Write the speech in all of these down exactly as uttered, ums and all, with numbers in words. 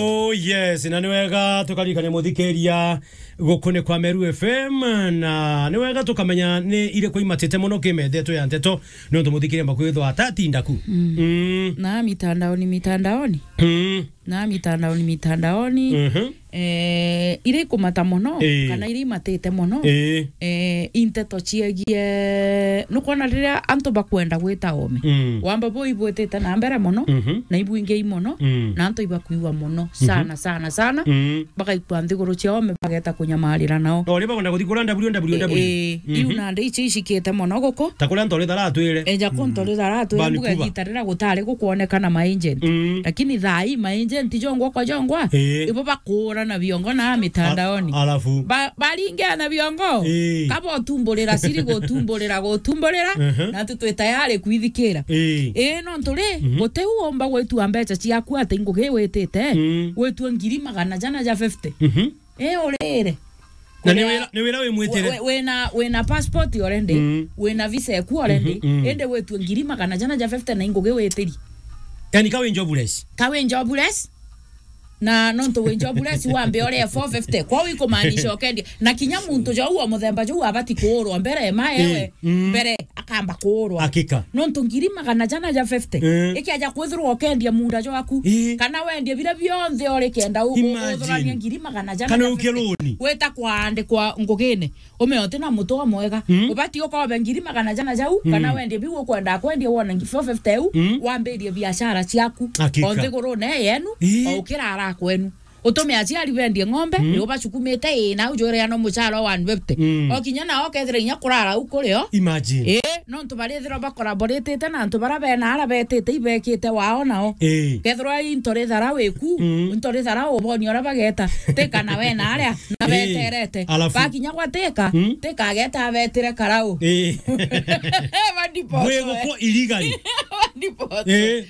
Oh yes, na ni wega tukaririkania muthikiria guku ni kwa Meru F M, na ni wega tukamenya ni iriku imatite muno kimethetwe ya nteto, nontu muthikiria mbakwithwa atatinda ku. Mm. Mm. Na mitandaoni, mitandaoni. Mm. Na mitandaoni, mitandaoni. Mhm. Eh, iria ikumata muno, Ii. kana iria imatite muno, Ii. eh, i nteto ciegie, nukwona riria antu bakwenda gwita ome. Mm. Wamba bo ibwitite na mbere muno, Mhm. na ibwingi muno, Mm. na antu ibakuigua muno, Mhm. sana, sana, sana. Mm. Bagaikua nthiguru cia ome, bageta kunyamarira nao. O riria bakwenda kuthi kuria W W W. Ii, iu Mhm. nandi ici icikite muno guku. Ta kuria Ntori Thara atwire. Eja ku Mm. Ntori Thara atwire, mbuga Vancouver. Igita riria gutari gukwonekana ma agent. Mm. Lakini thaa ii ma agent jongwa kwa jongwa, Ii. ibo bakuurana biongo na mitandaoni. A-, alafu? Ba-, baringeana biongo. Ii. Kaba utumburira, siri gutumburira, gutumburira, Mhm. na tu twi tayari kwithikira. Ii. Ii, nontu ri, Mhm. guti u umba gwitua mbeca ciaku ati ngugi witite, Mm. gwitua ngiri magana jana ja fifty. Mhm. Ii, urire. Na ni Kuria wira, ni wira wi mwitire. We-, we-, wina, wina passport already, Mm. wina visa eku already, Mhm, mm. indi witue ngiri magana jana ja fifty na ingugi witiri. Yani ka wi jobless. Ka wi jobless. Na nontu wi jobless wambe ore four fifty. Kwa wi kumaanisha ukendia. Na kinya muntu jo u wa muthemba jo u abati kuurwa mbere, ma Eh, ewe, mm. mbere akamba kuurwa. Hakika. Nontu ngiri magana jana ja fifty. Eh. Ikiaja kwithirwa ukendia munda jwaku. Eh. Kana wendie bira bionthe ori kenda u-, u-, Imagine. Uthuranie ngiri magana jana ja fifty. Kana uke loan. Weta kwaandikwa ngugine. Ume uti na mutwe mwega. Mm. Ubati ukobe ngiri magana jana jau, Mm. kana wendie biu ukwenda kwendia wone ngi-, four fifty eu, Mm. wambirie biashara ciaku. Hakika. O nthigurune yenu, Ii. o ukirara kwenu. Utume aciari bendie ng'ombe, Mm. ni ubacukumite, ii, nau jwire ano mucara wa one fifty. Mm. O kinya nao kethira inya kurara u kurio. Imagine. Ii, nontu barithirwa bakoraboritite na antu bara bena ara betite ibekite wao nao. Ii. Kethirwa i Ntori Thara wiku, Mm. Ntori Thara uboni ora bageta, tika na we na aria, na Ii. beterete. Alafu? Bakinya gwa tika, Mm. tika ageta abetire karau. Ii. Badipotwe. Bwigukwo illegally. Badipotwe. Ii.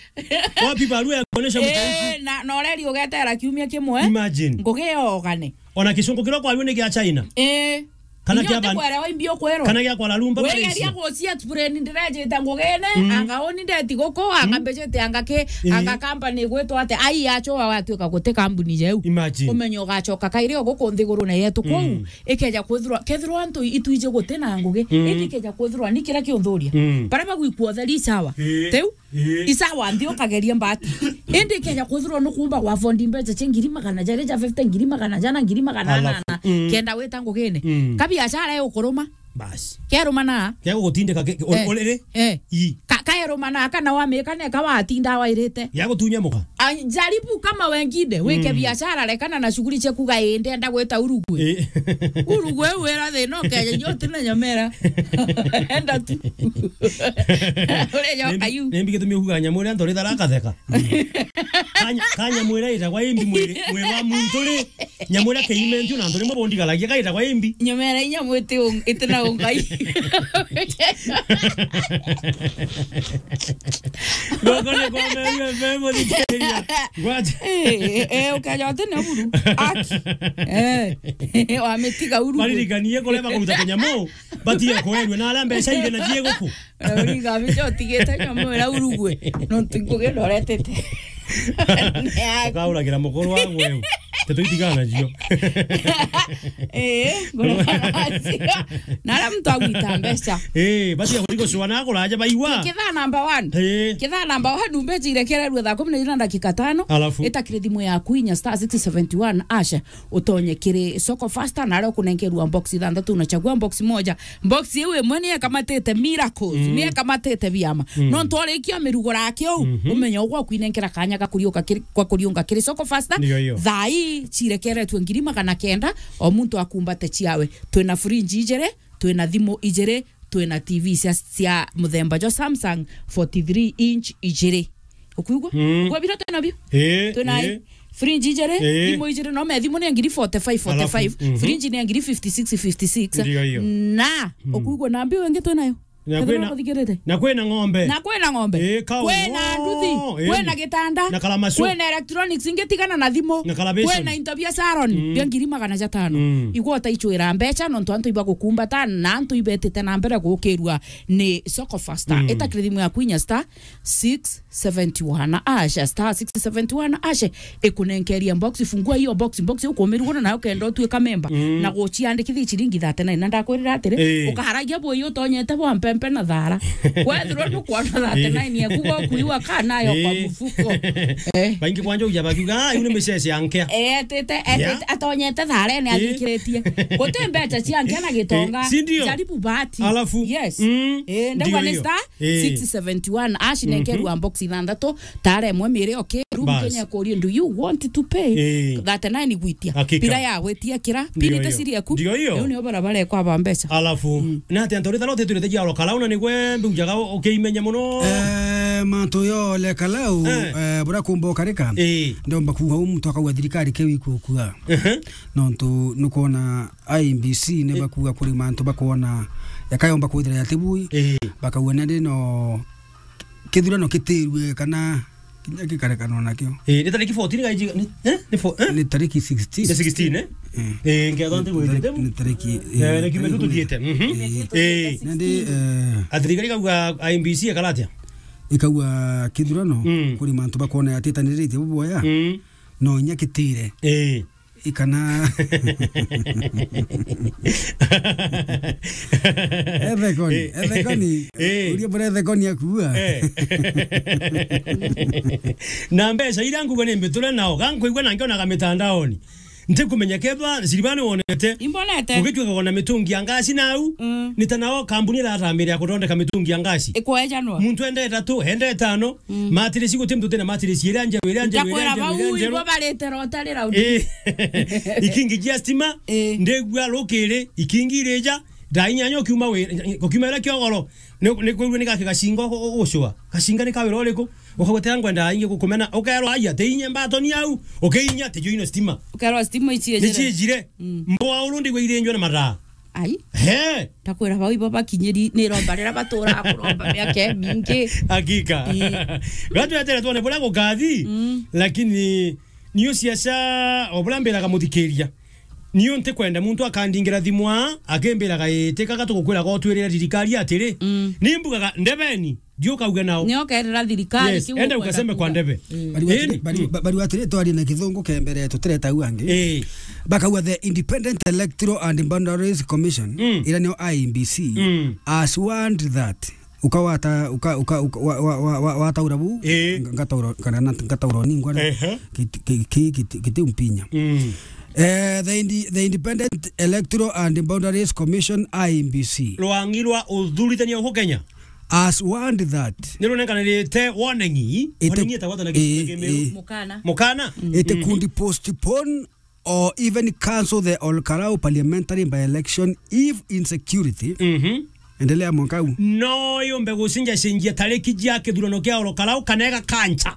Wapi barua ya kuonesha mtaifu? Eh, na, na ureri ugetera kiumia kimwe. Imagine. Ngugi yogane. Ona kisungu kiria kwariwe ni gia China. Eh. Kana kia ban-, kwera wa imbi ukwero. Kana gia Kuala Lumpur, Malaysia. Wegeria gucia explain ndirejite ngugine, Mm. anga uni ndeti guku, anga Mm. mbejete, anga ki, Eh. anga company gwitwa ate, ai acho watuika guti company jeu. Imagine. Umenye ugacoka kairi o guku nthigurune yetu kuu. Mm. Ikeja kwithirwa, kethirwa antu itwije guti na ngugi, Mm. indi ikeja kwithirwa ni kira kiunthuria. Mm. Bara bagwikua utheri sawa. Eh. Teu? Ii. Isawa nthi ukageria mbati. Indi ikeja kwithirwa nukumba gwa fondi mbeca cia ngiri magana jari ja fifty, ngiri magana jana, ngiri magana Alafu, anana, mm. kenda wita ngugine. Mm. Ka biashara iukuruma. Basi. Keruma na? Kegugutindika ke-, ke-, Eh. uriri? Eh. Ii. Ka-, kaeruma na kana wamika neka watinda wairite. Yagutunya muka? Ah, jaribu kama wengine, wike Mm. biashara, rekana na shughuli cia kuga, "Ii, ndenda gwita Uruguay." Ii. Uruguay wira thina ukeja, nyo tina nyamera. Enda tu. Ure nyoka yu. Nimbi gitumi uga nyamu iria Ntori Thara akatheka? Kanya, kanya mwira itagwa imbi mwiri, mwiri wa muntu ri. Nyamu iria kiimentio na Ntori Thara rimwe bondigaragia kaitagwa imbi. Nyamera inya mwiti un-, itina ungai. Goko ni kwa Meru F M, thikiriria. Ngwate. Eh, eh, eh, ukeja uti na buru. Aki. Eh, wamitiga uru. Baririkanie kuria bakuruta kinyamu, batige kwenua na aria mbeca iri na cie guku. Uriga bicho utigite nyamu ira Uruguay. No ntinguge ndoretete. Ukauragira mukuru wa gweu. Tetu itigana cio. Eh, ngona na aria muntu agwita mbeca. Eh, basi ya kutiko shwa na kuraja baiwa. Kithaa number one. Eh. Kithaa number one, mbeca irekererwe thaa kumi na ijiri na dakika tano. Alafu? Itakire thimu yaku inya star six seventy one hash, utonye kiri Soko Fasta, na aria ukunenkerwa box ithanthatu, unachagua box moja. Box iu imwe ni ekamatite miracles, Mm. ni ekamatite biama. Mm. No ntwarikia mirugura kiu, Mhm. umenye ugwa kwinenkera kanya ga kuriuka kiri, kwa kuriunga kiri Soko Fasta. Ndio hiyo. Thaa ii cirekeretwe ngiri magana kenda, o muntu akumbate ciawe. Twina fridge ijiri, twina thimu ijiri, twina T V cia, cia muthemba jwa Samsung forty-three inch ijiri. Ukuigua? Mm. Ukua bira twina bio? Eh, Twina eh. fridge ijiri, Eh. thimu ijiri, no me thimu ni ngiri forty-five, Alafu, forty-five. Mhm. Fridge ni ngiri fifty-six, fifty-six. Ndio hiyo. Na, Mm. ukuigua na mbio ingi twinayo? Na kwina, na kwina ng'ombe. Na kwina ng'ombe. Ii, kau. Kwina nduthi. Ii. Kwina gitanda. Na kalamacu. Kwina electronics ingi tigana na thimu. Na kalabation. Kwina into bia salon. Mm. Bia ngiri magana jatano. Mm. Igwa utaichwira mbecha nontu antu ibagukumbata na antu ibetite na mbere gukirua ni Soko Faster. Mm. Ita kiri thimu yaku inya star six seventy one ash, star six seventy one ash, ikunenkeria box, fungua hiyo box, box ukumirugura nayo kenda utuika memba, mm, na guciandikithia ciringi thirty nine. Na ndakwirira atiri, eh, ukaharagia bui utonyete bwa mpempe na thara. Wethirwa nukwona thirty nine, eh, yaku gokuiwa ka nayo kwa, eh, mufuko. Eh. Baingi kwanja uja bakiuga, "Ah, iu ni micece ya nkea." Eh, etite, etite, yeah, atonyete tharene, eh, athikiritie. Guti mbeca cia nkea na gitonga. Eh, si ndio? Jaribu bahati. Alafu, yes. Mm, eh, ndauga ndio ni hiyo. Star Eh. Six seventy one, ash, mhm, nenkerwa box ithanthatu, tara imwe miri, okay, room. Bas. Kenya kuria, "Do you want to pay?" Eh. Thirty nine gwitia. Hakika. Pira ya gwitia kira, ndio pini hiyo. Te siri yaku. Ndio hiyo. Riu nio barabara ekwa ba mbeca. Alafu, mm, na ati antu ritha rote turite jaro kalauna ni gwe mbiujaga ukimenya muno. Eh, mantu yo le kalau, eh, eh, bura kumba ukarika. Eh. Ndomba kuuga u muntu akauga thirikari ke wiku kua. Ehe. Nontu nukwona I E B C ni, eh, bakuuga kuri mantu bakwona yakayomba kwithira yatibui, eh, bakauga nandi no kithurano kitirue kana kinya gikarekanwa nakio. Eh, ni tariki fourteen gaiji, ni, eh? Ni fo-, eh? Ni tariki sixteen. Ni sixteen, eh? Eh. Eh, ngetho nti gwitite. Ni tariki, eh, ni kiumia tu tuthiite. Mhm. Eh. Eh. Nandi, eh, athirikari ikauga I E B C ikara atia? Ikauga kithurano, mm, kuri mantu bakwona yatitaniritie buboya. Mm. No inya kitire. Eh. Ikana. Ethekoni, eh, ethekoni. Eh. Uria bure ethekoni akua. Eh. Na mbeca iria nguga ni mbiture nao, ga nkuigua na nkionaga mitandaoni. Ntikumenya kethwa Silvana wonete. Imbonete. Ugituika kona mitungi ya ngasi nau, mm, ni ta nao kambuni iratamira ya kuthondeka mitungi ya ngasi. Ikwejanwa. Muntu ende ithatu, ende ithano, mm, matirisi guti muntu utina matirisi iria njeru, iria njeru, iria njeru, iria njeru. Ntakwira bau ibo barite rotari round. Eh. Ikingi jia stima, eh, ndigua rukiri, ikingi irija, thaa inyanya ukiuma wi-, ukiuma iria kiogoro, ni, ni kwirua ni gaki gacinga u-, u-, ucua. Gacinga ni ka wira uriku? Ukagwetera ngwenda ingi gukumena, ukerwa, "Aya, te inye mbatoni au," ukiinya, "Te jo ino stima." Ukerwa, "Stima ici ejire." Ni ciejire. Mm. Mboa uru ndigwa irinjwe na mathaa. Ai. He. Ndakwira bau ibo bakinyiri ni romba rira batura kuromba miaka imingi. Hakika. Ii. Gatwetere twone buria gukathi, mm, lakini niu ciaca o buria mbiraga muthikiria. Niu ntikwenda muntu akandingira thimu aa, akimbiraga, "Ii, tikaga tugukwiraga utwirire thirikari atiri." Mm. Ni mbugaga, "Ndebeni." Ndio ukauga nao. Nio ukerira thirikari. Yes, kiu enda ukwenda ukaseme kwa kuuga. Ndebe. Mm. Bari watire, eh, bari, mm, ba-, bari watire twarie na kithungu kembere tutireta u angi. Eh. Bakauga the Independent Electoral and Boundaries Commission, mm, ira nio I E B C, mm, has warned that ukawata, uka, uka, uka, wa, wa, wa, wa, wataura bu, eh, nga-, ngataura, kana na, ngataura ningwa, ehe, kiti, ki-, ki-, kiti, kiti umpinya. Mm. Eh, the Indi-, the Independent Electoral and Boundaries Commission, I E B C. Rwangi rwa uthurithania huku Kenya. Has warned that. Ni runenganirite warning. Ite-, warning itagwa na, eh, Kimiru? Eh. Mukana. Mukana? Mm. It, mhm, could postpone or even cancel the Ol Kalou parliamentary by-election if insecurity. Mhm. Endelea mwaka huu. No yumbe gucenjacenjia tariki cia kithurano kia Ol Kalou kana igakancha.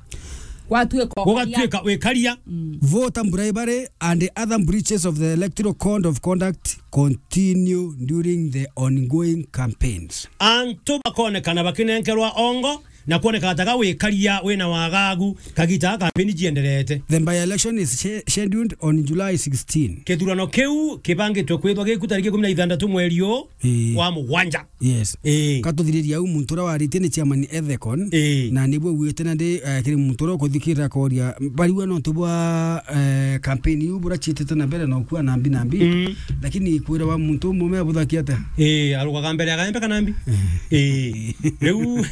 Gwatuika ukaria. Gugatuika wikaria. Mm. Voter bribery and other breaches of the Electoral Code of Conduct continue during the ongoing campaigns. Antu bakonekana bakinenkerwa ongo na kwoneka taga wikaria wina wagagu kagita ga kampeni jienderete. The by-election is sche-, scheduled on July sixteen. Kithurano kiu kibangitwe kwithwa giku tariki ikumi na ithanthatu mweri uu, ii, wa mugwanja. Yes. Ii. Katuthiriria au muntu uria waritie ni chairman Ethecon, ii, na nibu auite nandi, eh, kiri muntu uria ukuthikirira akoria, bariwa nontu bwa, eh, campaign iu burachiitite na mbere na ukua nambi nambi. Mm. Lakini kwira wa muntu umwe me abuthakia atia? Ii, arugaga mbere ya gaembe kana mbi? Ii. Riu.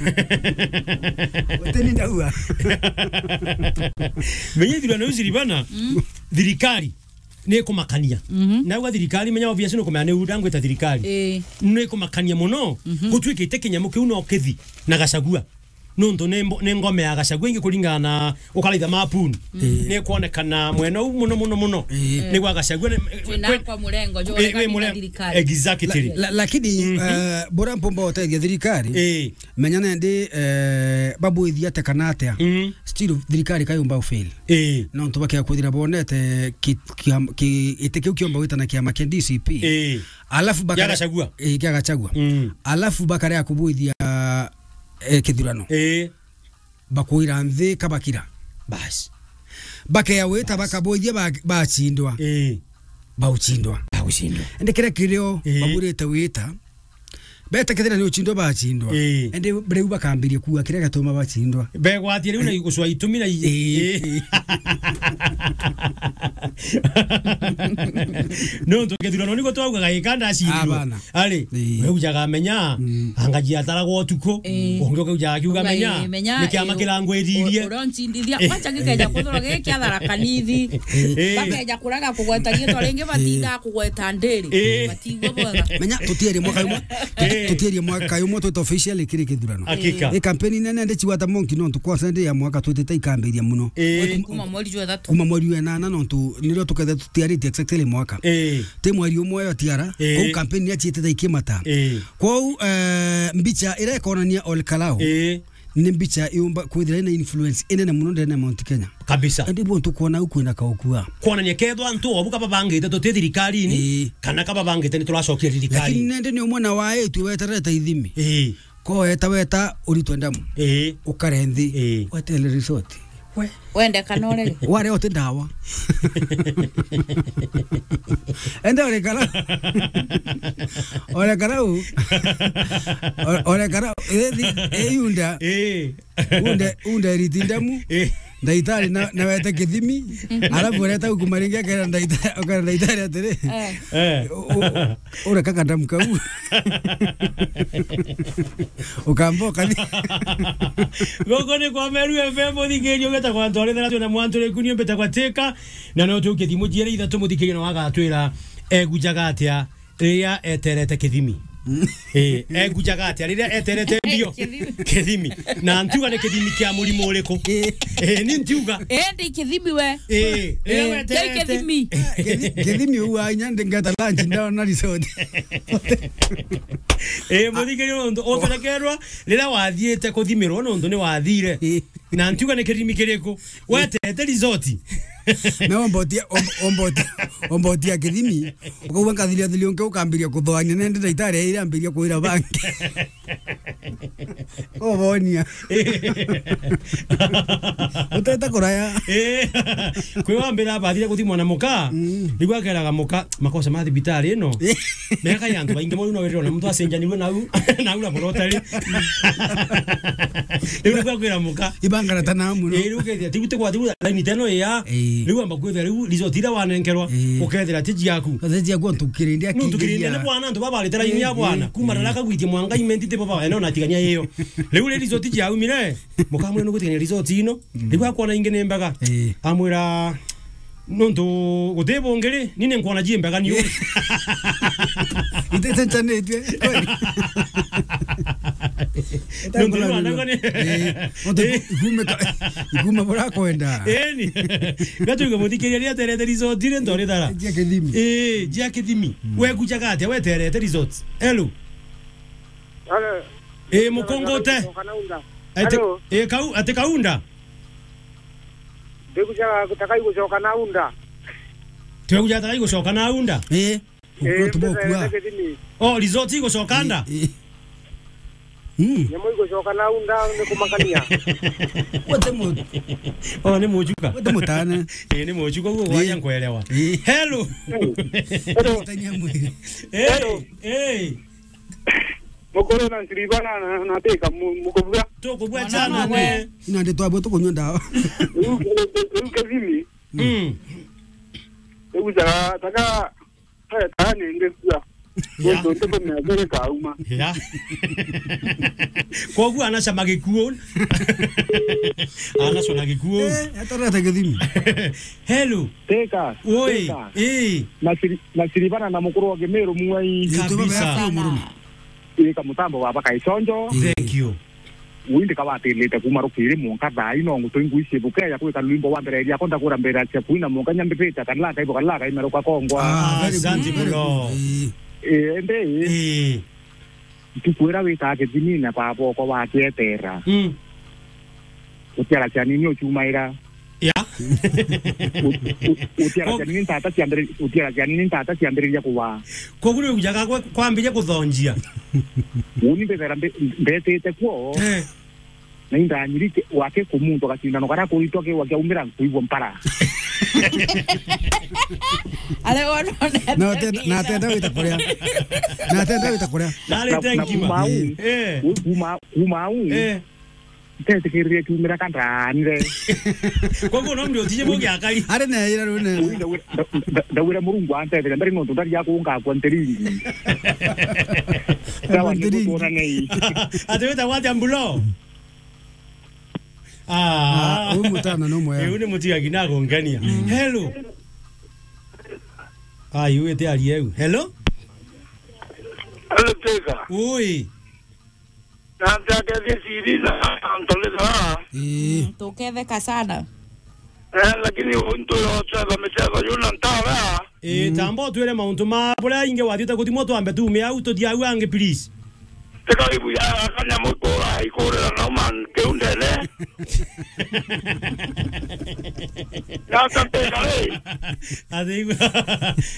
Uteni ndaua. Menya ithurano iu Silvana, mm, thirikari ni ikumakania. Mhm. Nauga thirikari, menya obvious ni ukumenya ni u ndangwita thirikari. Ii. Ni ikumakania muno, mhm, gutuikite kinyamu kiu no kithi na Gachagua. Nontu ni mbo-, ni ngome ya Gachagua ingi kuringana na ukaraitha mapuni. Ni kwonekana mwena uu muno, muno, muno. Ni gwa Gachagua ni, twina kwe-, kwa murengo, jwa wi, wi murengo. Exactly. La-, la-, lakini, eh, bora mpomba utethia thirikari, menya nendi, eh, babwithia ate kana atia. Still thirikari kayumba ufail. Nontu bakea kwithira bonete ki-, kiam-, ki-, giti kiu kiomba gwitana kiama kia D C P. Alafu bakare-, kia Gachagua. Alafu bakarea kubwithia, eh, kithurano. Bakwira nthi kabakira. Bas. Bakea wita bakabwithia ba-, bachindwa. Bauchindwa. Bauchindwa. Indi kiria kirio babwirite wita, beta kethira ni uchindwa bachindwa. Indi riu bakambiria kuuga kiria gatuma bachindwa. Begwatia riu na igucwa itumi na i-, nontu kithurano niko twaugaga gikanda acindwa. Ari, we ujaga menya, anga jiataragwa utuku, ungi ukaujaga akiuga menya, ni kiama kirangwiririe. Uria uncindithia, kwanza gikeja kuthurwa giki kia Tharaka Nithi. Bakeja kuraga kugweta riitwa ringi, batinda kugweta ndiri. Batigua bwega. Menya, tutierie mwaka umwe, tutierie mwaka umwe twita officially kiri kithurano. Hakika. I kampeni nene ndi chigwata monki nontu kwanza ndi ya mwaka twitite ikambiria muno. Kuma mweri jwa ithatu. Kuma mweri wa enana nontu nirio tukethe tutiaritie exactly mwaka. Ti mweri umwe yo tiara. Kou kampeni niachiitite ikimata. Kou, eh, mbicha iria ikonania Ol Kalou, ni mbicha yumba kwithira ina influence inene muno ndene ya Mount Kenya. Kabisa. Indi bo ntukwona u kwina kaukua. Kwonania kethwa antu obu kababangite tuti thirikarini, kana kababangite ni turacokia thirikarini. Lakini nende ni umwe na waitwi weterete ithimi. Ko weta, weta uritwe ndamu. Ukare nthi. Wetele resort. We. Wende kana urege. Ware uti ndawa. Ende urekara. Urekara u. Urekara. Ethi, eyunda. Unde, unde riti ndamu. Ndaitari na, na wete kithimi. Alafu ureta ukuma ringi akera ndaita-, akera ndaitari atiri. U-, u-, ureka kandamu kau. Ukamba ukathi. Guku ni kwa Meru F M, uthikiirie ugeta kwa Ntwari Tharatu na Mwantu Rikuni, mbeta kwa Tika, na no tukie thimu jiere ithatu muthikiirie na wagatwira egujaga atia riria eterete kithimi. Eh, egujaga atia riria eterete mbio? Kithimi. Kithimi. Na ntiuga ni kithimi kia murimo uriku. Eh, ni ntiuga. Eh, ndi kithimi we. Eh, riria weterete. Kithimi. Kithi-, kithimi uwa inya ndingeta lunch ndona resort. Eh, muthikiirie nontu uterekerwa riria wathiite kuthimirwa nontu ni wathire. Na ntiuga ni kirimi kiriku. Wetete resort. Na ombotia, om-, ombotia, ombotia kithimi. Ukauga ngathiria thiria ungi ukambiria kuthoania nende ndaitari iria ambiria kwira bangi. Ubonia. Utete kuraya. Eh. Kwi wambira abathire kuthimwa na muka. Riu akeraga muka, makosa ma thibitari ino. Meka ya antu baingi mono no wirira na muntu acenjanirwe nau, nau na murotari. Riu niguo akwira muka. Ibangara ta na muno. Eh, riu ukethia, tiu ti kwa tiu, laini teno ya. Riu amba kwithira riu resort ira wanenkerwa, ukethira ti jiaku. Ti jiaku, ntukirinde. Ntukirinde ni bwana, antu babarite laini ya bwana. Kuma rara kagwitie mwanga imenti ti baba, eno na tigania iyo. Riu ri resort jiaumire, mukamwira nugutigania resort ino. Riu akwona ingi ni mbega. Amwira, nontu guti bungi ri, ni ni nkwona ji mbega ni uu. Itete nchanitue. Nontu ni wandaga ni. Nontu ikume ka-, ikume bura kwenda. Eni. Gatuge muthikiria ria terete resort ri ntwari thara. Jia kithimi. Eh, jia kithimi. Wegujaga atia weterete resort? Hello. Hello. Eh, mukungu ute? Gucoka na unda. Ati, hello. Eh, kau, ati kaunda? Ndigujaga gutakai gucoka na unda. Twegujaga takai gucoka na unda? Eh, eh, ukua tubokua. Oh, resort igucoka nda? Eh, eh. Mm. Nyamu igucoka na unda ni kumakania. Wote mu-, oh, ni mujuka. Wote mutane. Eh, ni mujuka uguo gwaja nkwelewa. Eh. Hello. Hello. Tania mwiri. Eh, hello. Eh. Mukuru na Silvana na, na Teka mu-, mukubua. Tukubua chana we. Ina ndi twabwe tukunywa ndawa. Riu, riu, riu kithimi. Mm. Riu taka, taka, taka nenge kua. Ya. Guntu ntuku methiri kauma. Ya. Koguo anacama gikuo. Anacona gikuo. Eh, atarata kithimi. Hello. Teka. Oi. Teka. Eh. Na Sili-, na Silvana na mukuru wa Kimiru mwai. Kabisa. Ika mutambo wa baka ichonjo. Thank you. Ui ndikawatilite kuma rukiri munka thaa ino ngutu ingui cibuke ya kwika rwimbo wa mbere yakwa ndakura mbere cia kuina munka nyambipite kanila kaibo kanila kaimeruka kongwa. Ah, very good, very good. Ii. Ii, indi ii. Ntukwira witaga kithinine baba okwa wakietera. Mm. Utiara cianini uchumaira. Ya. U-, u-, utiara cianini ntata ciambiri-, utiara cianini ntata ciambiriria kuwa. Koguo riu jaga gwe kwambiria kuthonjia. Uni mbethera mbe-, mbetite kuo. Eh. Na indanyiri ke-, wake ku muntu agacindano karia kuritwa ke wakiaumira nkuigua mpara. Ale wono. Na atenda, na atenda wita kuria. Na atenda wita kuria. Na, na, na kuma au. Eh. Kuma, kuma au. Eh. Ntetikiririe kiumira kandanire. Koguo no mbi utije mugi akari. Ari na ira rune. Ui ndawira, nda-, nda-, ndawira Murungu antethire mbere nontu ndari ya kunga kwa ntiringi. Sawa, ntiringi. Nikuona nei. Ati wita watia mbulo? Ah. Ah, uyu mutana no mwega. Uyu ni mutigagi na kungenia. Mm. Hello. Ah, iwite ari eu. Hello? Hello, Tega. Ui. Na ntakethi siri na ntolera. Ii. Mm, tuketheka sana. Eh, lakini untu yo cheva mecheva yuna ntara. Ii, mm, tamba utwire mauntu ma buria ingi wathiite kuthimwo twambe tuume au tuthie au angi, please. Tika ibu ya kanyamu ikura, ikurira na uma kiu ndene. Nata mpika ri? Athi,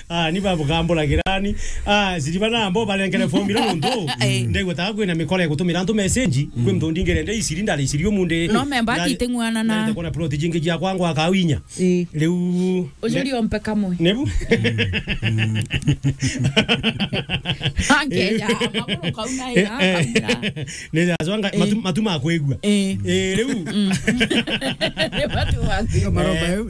ah, ni babu kambura kirani. Ah, siriba na ambo barengere formula nontu. Eh. Ndegwetaga kwina mikora ya gutumira antu message, kwi muntu ndingere nde isiri ndari isiri umunde. No memba ndari-, ati iteng'uanana. Ndari takona plot jingi jia kwangu akawinya. Ii. Riu ujurie ompe kamwe. Nebu? Angeja, maguru kauna ya, eh, eh, kauna. Ni jazwanga, eh, matu, matu ma kwigua. Eh. Eh, riu. Mm. Ni matu ma kwigua. Maromba eu.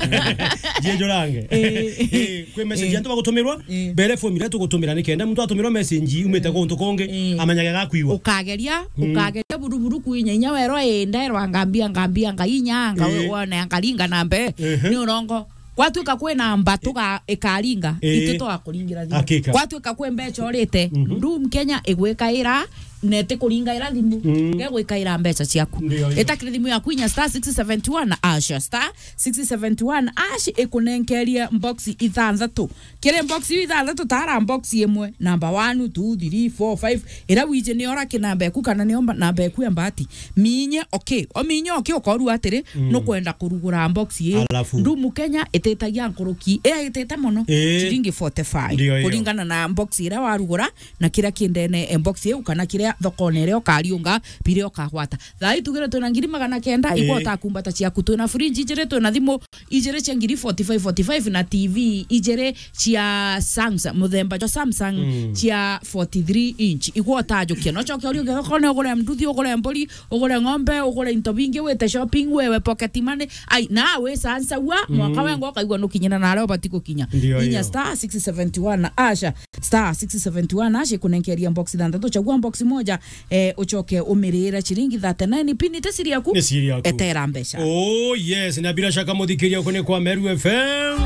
Jiejurange. Eh. Eh, kwi message, eh, antu bagutumirwa, eh, mbere form iria tugutumira ni kenda muntu atumirwa message umite guntu kungi, eh, amenyage gakwigua. Ukageria, mm, ukageria buruburu kwinya inya werwa, eh, nderwa ngambia, ngambia, ngainya, nga-, eh, wone, ngaringa na mbe, ehe, ni urongo. Gwatuika kwina mba tuga ikaringa, ii, itwi twakuringira thimu. Hakika. Gwatuika kwi mbeca urite, mhm, Doom Kenya igwikaira, na itikuringaira thimu, mm, gegwikaira mbeca ciaku. Ndio, ndio. Itakire thimu yaku inya star six seventy one hash, star six seventy one hash ikunenkerie box ithanthatu. Kiri box iu ithanthatu, tara box imwe, number one, two, three, four, five. Ira wiji ni ora ki namba eku kana ni omba namba eku ya mbati. Minye, okay. O minye, okay, ukorua atiri, mm, nukwenda kurugura box ii. Alafu? Ndumu Kenya ititagia nkuruki, ii itite mono, eh, ciringi forty-five. Ndio, ndio. Kuringana na box iria warugura, na kiria ki ndene e box iu, kana kiria thokone iria ukariunga, biria ukagwata. Thaa ii tugire twina ngiri magana kenda, eh, igwata kumbata ciaku. Twina fridge ijiri, twina thimu ijiri cia ngiri forty-five, forty-five, na T V ijiri cia Samsung, muthemba jwa Samsung, mm, cia forty-three inch. Igwa utajukia. No coke uri uge, okorwo ni ugure nduthi, ugure mburi, ugure ng'ombe, ugure into bingi, wite shopping, wewe pocket money. Ai, na wisansaua, mm, mwaka wengo ukaigua nukinyira na aria ubati gukinya. Ndio. Inya hiyo. Star six seventy one hash, star six seventy one hash ikunenkeria box ithanthatu. Chagua box moja, eh, ucoke umirire ciringi thirty-nine. Pin ite siri yaku. Ni siri yaku. Etera mbeca. Oh, yes. Na bila shaka muthikiria uko ni kwa Meru F M.